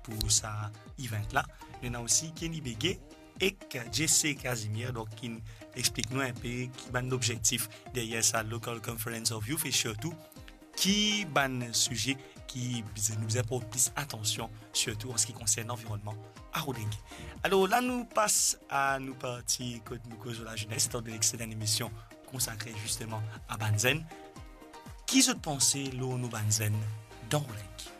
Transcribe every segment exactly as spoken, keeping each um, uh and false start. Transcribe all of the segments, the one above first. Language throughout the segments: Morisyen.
pou sa event la. Nou ena osi Kenny Bege ek Jesse Casimir, donk ki explik nou inpe ki bann lobzektif deryer sa Local Conference of Youth e sirtou ki bann size ki bizin, nou bizin port plis atansion, sirtou an se ki konsern lanvironnman a Rodrig. Alor la nou pas a nou parti kot nou koz lor lazenes, etandone ki se enn emision konsakre zisteman a bann zenn. Ki zot panse lor nou bann zenn dan Rodrig?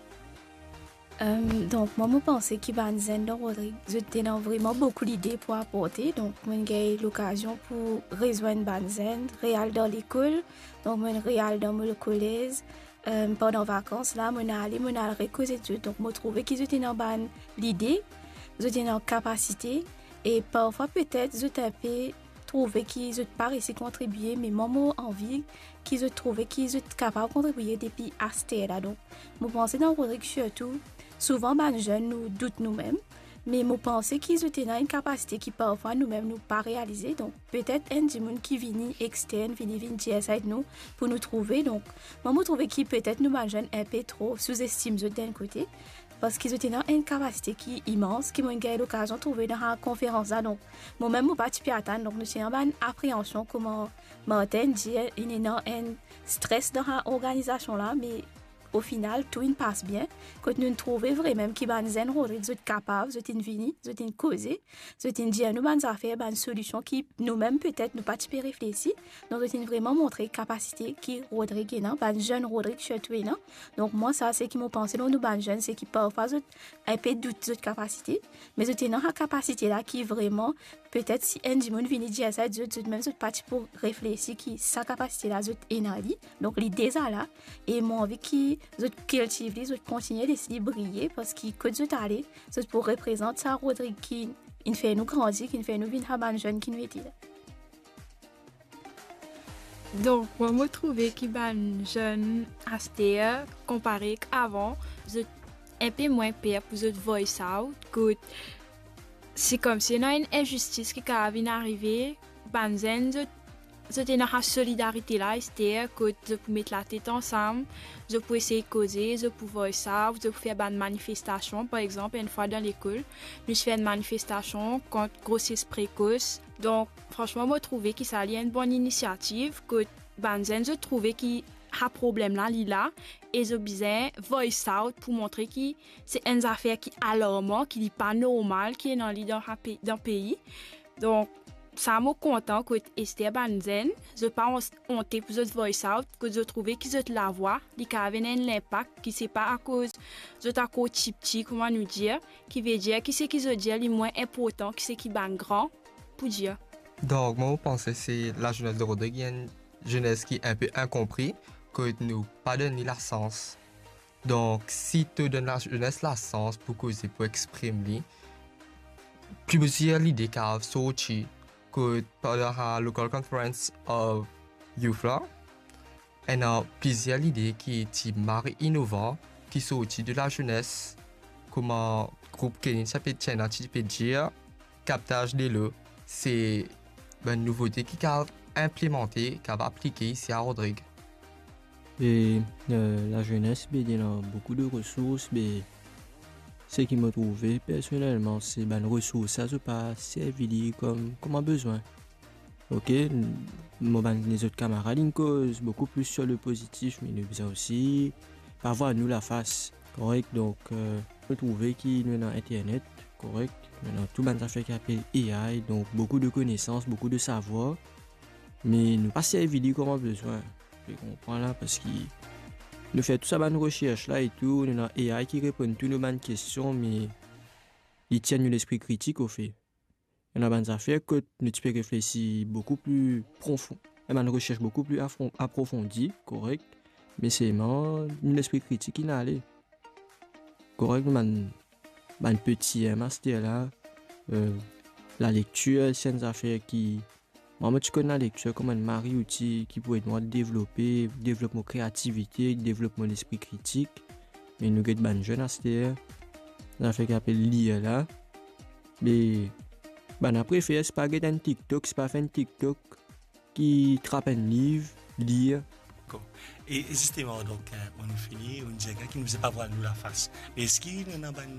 Em, donk, mwa, mo panse ki bann zenn dan Rodrig, zot ena vreman boukou lide pou aporte. Donk, mo'nn gagn lokazion pou rezwenn bann zenn, re al dan lekol. Donk, mo'nn re al dan mo kolez. Em, pandan vakans la, mo'nn ale, mo'nn al rekoz ek zot. Donk, mo trouve ki zot ena bann lide, zot ena kapasite, e parfwa, petet, zot inpe trouve ki zot pa resi kontribie, me mwa, mo anvi ki zot trouve ki zot kapav kontribie depi aster la. Donk, mo panse dan Rodrig sirtou, souvan bann zenn nou dout noumem, me mo panse ki zot ena enn kapasite ki parfwa noumem nou pa realize. Donk, petet enn dimoun ki vini extern, vini, vinn dir sa ed nou pou nou trouve. Donk, mwa, mo trouve ki petet nou bann zenn inpe tro souzestim zot dan enn kote, parski zot ena enn kapasite ki imans, ki mo'nn gagn lokazion trouve dan sa konferans la. Donk, momem, mo pa ti pe atann, donk nou ti ena bann apreansion, kouma Martin dir, ena enn stres dan sa organizasion la, me ofinal, tou inn pas bien, kot nou'nn trouve vremem ki bann zenn Rodrig, zot kapav, zot inn vini, zot inn koze, zot inn dir nou bann zafer, bann solision ki noumem, petet, nou pa ti pe reflesi. Donk, zot inn vreman montre kapasite ki Rodrig ena, bann zenn Rodrig sirtou ena. Donk, mwa, sa, seki mo panse lor nou bann zenn, seki parfwa zot inpe dout zot kapasite, me zot ena sa kapasite la ki vreman, petet, si enn dimoun vini dir sa zot, zot mem zot pa ti pou reflesi ki sa kapasite la zot ena li. Donk, li deza la, e mo anvi ki zot kiltiv li, zot kontigne les li briye, parski kot zot ale, zot pou reprezant sa Rodrig ki inn fer nou grandi, ki inn fer nou vinn sa bann zenn ki nou ete la. Donk, mwa, mo trouve ki bann zenn aster, konpare ek avan, zot inpe mwin per pou zot voice out, kot se koumsi ena enn inzistis ki kapav vinn arive, bann zenn, zot, zot ena sa solidarite la, aster, kot zot pou met latet ansam, zot pou esey koze, zot pou voice out, zot pou fer bann manifestasion, par exanp, enn fwa dan lekol, nou ti fer enn manifestasion kont groses prekos. Donk, fransman, mo trouve ki sa li enn bon inisiativ, kot bann zenn, zot trouve ki sa problem la, li la, e zot bizin voice out pou montre ki se enn zafer ki alarman, ki li pa normal, ki ena li dan sa pe-, dan pei. Donk, sa mo kontan kot aster bann zenn, zot pa on-, onte pou zot voice out, kot zot trouve ki zot lavwa, li kapav ena enn linpak, ki se pa akoz zot ankor tipti, kouma nou dir, ki vedir ki seki zot dir li mwin inportan ki seki bann gran pou dir. Donk, mwa, mo panse se lazenes de Rodrig, enn zenes ki inpe inkonpri, kot nou pa donn li lasans. Donk, si to donn lazenes lasans pou koze, pou exprim li, plizier lide kapav sorti, kot pandan sa Local Conference of Youth la, ena plizier lide ki ti mari inovan, ki sorti de lazenes, kouma group Kenny ti pe, ti ena ti pe dir, kaptaz delo, se bann nouvote ki kapav inplimante, kapav aplike isi a Rodrig. E, eh, lazenes, be, li ena boukou de resours, be, seki mo trouve personelman, se bann resours sa, zot pa servi li kom, kouma bizin. Ok, n-, mo bann lezot kamarad inn koz boukou plis sir le pozitif, me nou bizin osi pa vwar nou lafas, korek? Donk, eh, mo trouve ki nou ena internet, korek? Nou ena tou bann zafer ki apel A I, donk boukou de konesans, boukou de savwar, me nou pa servi li kouma bizin. Ou konpran la, parski nou fer tou sa bann resers la e tou, nou ena A I ki reponn tou nou bann kestion, me li tir nou lespri kritik, ofe. Ena bann zafer kot nou ti pe reflesi boukou pli profon, e bann resers boukou pli afron-, aprofondi, korek, me selman nou lespri kritik inn ale. Korek, nou bann, bann peti, eh, master la, eh, lalektir, se enn zafer ki, mwa, mo ti konn lalektir kouma enn mari outi ki pou ed mwa devlope, devlop mo kreativite, devlop mo lespri kritik. Me nou get bann zenn aster, zafer ki apel lir la. Me bann la prefer, se pa get enn TikTok, se pa fer enn TikTok, ki trap enn liv, lir. Dakor. E zisteman, donk, eh, nou fini, nou dir ki nou bizin pa vwar nou lafas. Me eski nou ena bann,